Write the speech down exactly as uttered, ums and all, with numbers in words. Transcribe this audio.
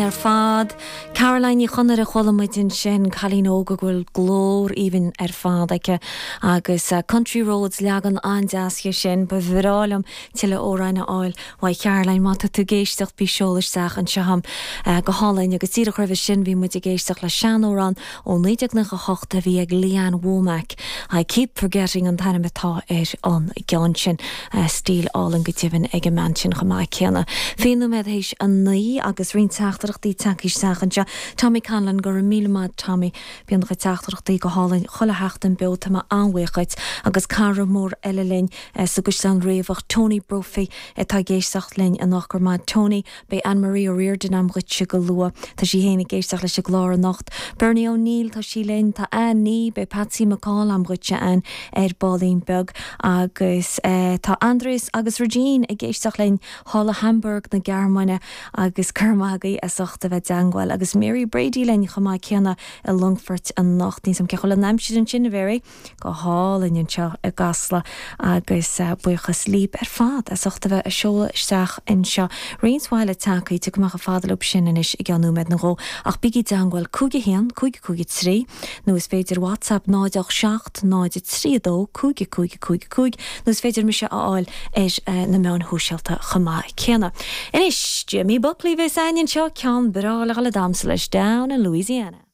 Ar fad Caroline Ní Chonaire a chuala muid ansin cailín óg go bhfuil glór aoibhinn ar fad aici agus uh, Country Roads leagan an-deas sin ba bhreá liom tuilleadh amhrán a fháil uait Caroline má tá tú ag éisteacht bí seol isteach anseo chugam uh, go hálainn agus díreach roimhe sin bhí muid ag éisteacht le seanamhrán ó naoi déag nócha hocht a bhí ag Lee Ann Womack. I keep forgetting an t-ainm atá ar an gceann sin uh, stíl álainn go deimhin ag an mbean sin chomh maith céanna. Fiche nóiméad théis a naoi agus roinnt teachtaireachtaí tagtha isteach anseo. Tommy Conlon go raibh míle maith Tommy bíonn do theachtaireachtaí go hálainn chuile sheachtain beo tá mé an-bhuíoch agus cara mór eile linn eh, sa gCaisleán Riabhach Tony Brophy atá ag éisteacht linn anocht go raibh maith Tony beidh Anne-Marie O'Riordan agam dhuitse go luath Tá sí féin ag éisteacht leis an gclár anocht. Bernie O'Neill tá sí linn tá Ann ní beidh Patsy McCall agam dhuitse an ar baillín beag agus eh, tá Andres agus Regine ag éisteacht linn thall i Hamburg na Gearmáine agus cumaagaí as ucht a bheith i dteagmháil agus Mary Brady linn chomh maith céanna i Longfort anocht ní ce chuile aimsir ansin a Mhary go hálainn anseo i gCasla agus uh, buíochas libh ar fad as ucht a bheith ag seoladh isteach anseo. Roinnt mhaith tagtha tiocfaidh mé chomh fada leo sin anois i gceann nóiméad nó dhó ach bígí i dteagmháil cúig a haon cúig cúig trí nó is féidir WhatsApp náid seacht náid trí dó cúig cúig cúig cúig nó is féidir mise a fháil ar uh, na meáin shóisialta chomh maith céanna. Anois Jimmy Buckley bhí an seo ceann breá le le damsa leis down in Louisiana.